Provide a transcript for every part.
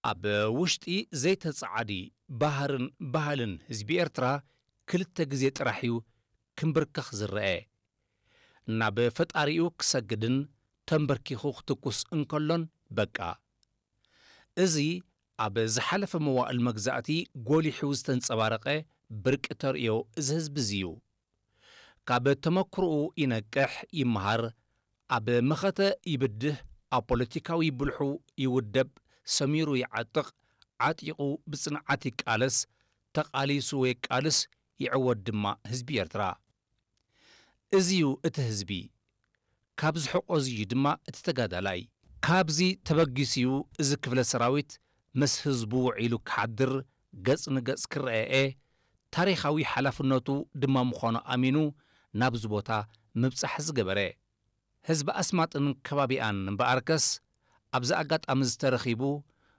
ኣብ ውሽጢ ዘይተጻዓዲ ባህርን ባህልን ህዝቢ ኤርትራ ክልተ ግዜ ጥራሕ እዩ ክንብርከኽ ዝረአ። ናብ ፈጣሪኡ ክሰግድን ተንበርኪኹ ክትኩስ እንከሎን በቃ። እዚ ኣብ ዝሓለፈ መዋእል መግዛእቲ ጎሊሑ ዝተንጸባረቐ ብርቂ ተርእዮ እዚ ህዝቢ እዚ እዩ። ካብ ተመክሮኡ ይነቅሕ፣ ይመሃር፣ ኣብ መኸተ ይብድህ፣ ኣብ ፖለቲካዊ ብልሑ ይውደብ፣ ሰሚሩ ይዓጥቕ፣ ዓጢቑ ብጽንዓት ይቃለስ፣ ተቓሊሱ የቃልስ፣ ይዕወት ድማ ህዝቢ ኤርትራ። እዚ እዩ እቲ ህዝቢ። ካብ ዝሕቆ እዚ እዩ ድማ እቲ ተጋዳላይ። ካብዚ ተበጊሱ እዩ እዚ ክፍለ ሰራዊት ምስ ህዝቡ ውዒሉ ክሓድር፣ ገጽ ንገጽ ክረኣኤ፣ ታሪኻዊ ሓላፍነቱ ድማ ምዃኑ ኣሚኑ ናብዚ ቦታ ምብጻሕ ዝገበረ። ህዝቢ ኣስማጥን ከባቢኣን እምበኣርከስ ኣብዚ ኣጋጣሚ ዝተረኺቡ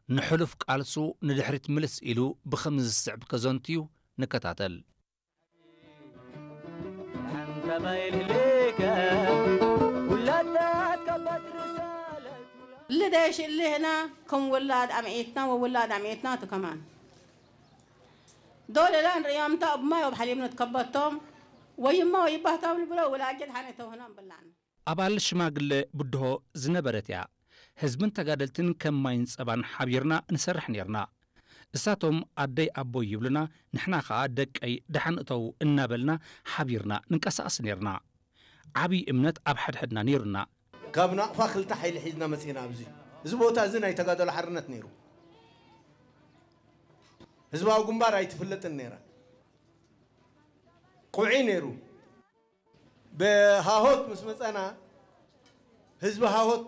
ንሕሉፍ ቃልሱ ንድሕሪት ምልስ ኢሉ ብኸምዚ ዝስዕብ ከዘንቱ እዩ። ንከታተል። ልደሽ እልህና ከም ውላድ ኣምዒትና ወውላድ ኣምዒትና ትከማን ዶለላ ንርእዮም እንተ እማይ ወብሓሊምኖት ከበቶም ወይማ ወይባህቶም ልብሎ ውላጀት ሓነ ተውህኖም ብላን። ኣባል ሽማግለ ብድሆ ዝነበረት እያ። ህዝብን ተጋደልትን ከም ማይን ጸባን ሓቢርና ንሰርሕ ኔርና። እሳቶም ኣደይ ኣቦይ ይብሉና፣ ንሕና ኸኣ ደቀይ ደሓን እተዉ እናበልና ሓቢርና ንንቀሳቐስ ኔርና። ዓቢ እምነት ኣብ ሓድሕድና ኔሩና። ካብ ናቕፋ ክልተ ሓይሊ ሒዝና መጺና ኣብዚ። እዚ ቦታ እዚ ናይ ተጋደሎ ሓርነት ነይሩ። ህዝባዊ ግንባር ኣይትፍለጥን ነይራ። ቁዒ ነይሩ። ብሃሆት ምስ መጸና ህዝቢ ሃሆት